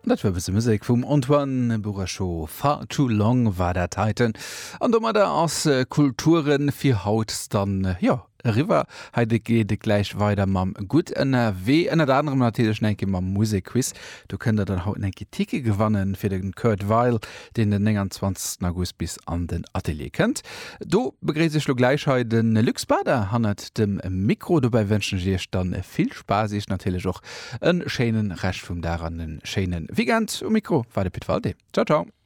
An dat war e bësse Musek vum Antoine Bourachot. Far Too Long war dat heiten. An domadder ass Kulturen fir haut dann, jo, eriwwer. Hei geet et gläich weider mam Gutt ënnerwee, ënnert anerem natierlech nach eng Kéier mam Musekquiz. Do kënnt der dann haut nach eng Kéier Tickete gewannen fir de Kurt Weill, deen den 29 August bis an den Atelier kënnt. Do begréiss ech lo gläich hei de Luc Spada hannert dem Mikro. Dobäi wënschen ech iech dann vill Spaass, iech natierlech och e schéinen Rescht vum Dag an e schéinen Weekend. Um Mikro war de Pit Walté. Ciao ciao.